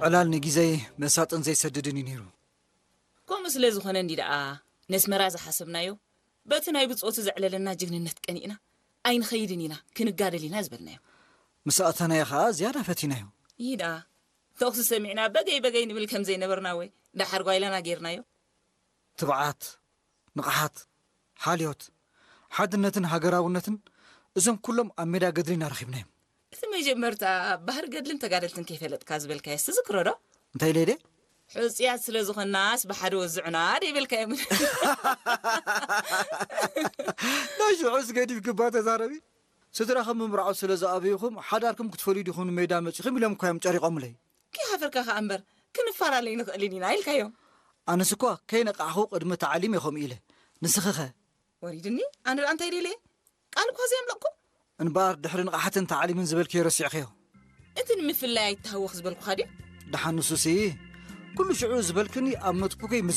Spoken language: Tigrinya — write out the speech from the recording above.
ዕላል ንግዜይ መሳጥን ዘይሰድድን እዩ ነይሩ። ከምኡ ስለ ዝኾነ እንዲ ደኣ ነስመራ ዝሓሰብናዮ፣ በቲ ናይ ብጾቱ ዘዕለለና ጅግንነት ቀኒእና ኣይንኸይድን ኢና፣ ክንጋደል ኢና ዝበልናዮ። ምስ ኣተናዮ ኸኣ ዝያዳ ፈቲናዮ። ይዳ ተኹሲ ሰሚዕና በገይ በገይ ንብል ከም ዘይነበርና ወይ ደሓር ጓይላና ጌርናዮ። ትብዓት፣ ንቕሓት፣ ሓልዮት፣ ሓድነትን ሃገራውነትን፣ እዞም ኩሎም ኣብ ሜዳ ገድሊ ኢና ረኺብናዮም። እቲ መጀመርታ ባህሪ ገድልን ተጋደልትን ከይፈለጥካ ዝበልካዮስ ትዝክሮ ዶ? እንታይ ኢለ ኢለ? ሕጹያት ስለ ዝኾንናስ ብሓደ ወዝዑና ደይበልካዮም። ናይ ሽዑስ ገዲፍክባ ተዛረቢ። ስድራኹም ምምርዓው ስለ ዝኣበይኹም ሓዳርኩም ክትፈልዩ ዲኹም ንሜዳ መጺኹም ኢሎም እኳ እዮም ጨሪቖምለይ። ከይሓፈርካ ከኣ እምበር ክንፈላለይ ንኽእልን ኢና ኢልካዮም። ኣነስ እኳ ከይነቃሕኹ ቅድሚ ታዕሊም እየ ከምኡ ኢለ። ንስኺኸ? ወሪድኒ። ኣነ ደኣ እንታይ ደልየ? ቃል እኳ ዘየምለቕኩ። እንበኣር ድሕሪ ንቕሓትን ታዕሊምን ዝበልክዮ ረሲዕኽዮ። እቲ ንምፍላይ ኣይተሃወኽ ዝበልኩኻ ድዩ? ደሓን ንሱሲ ኩሉ ሽዑ ዝበልክኒ ኣብ ኖትቡከይ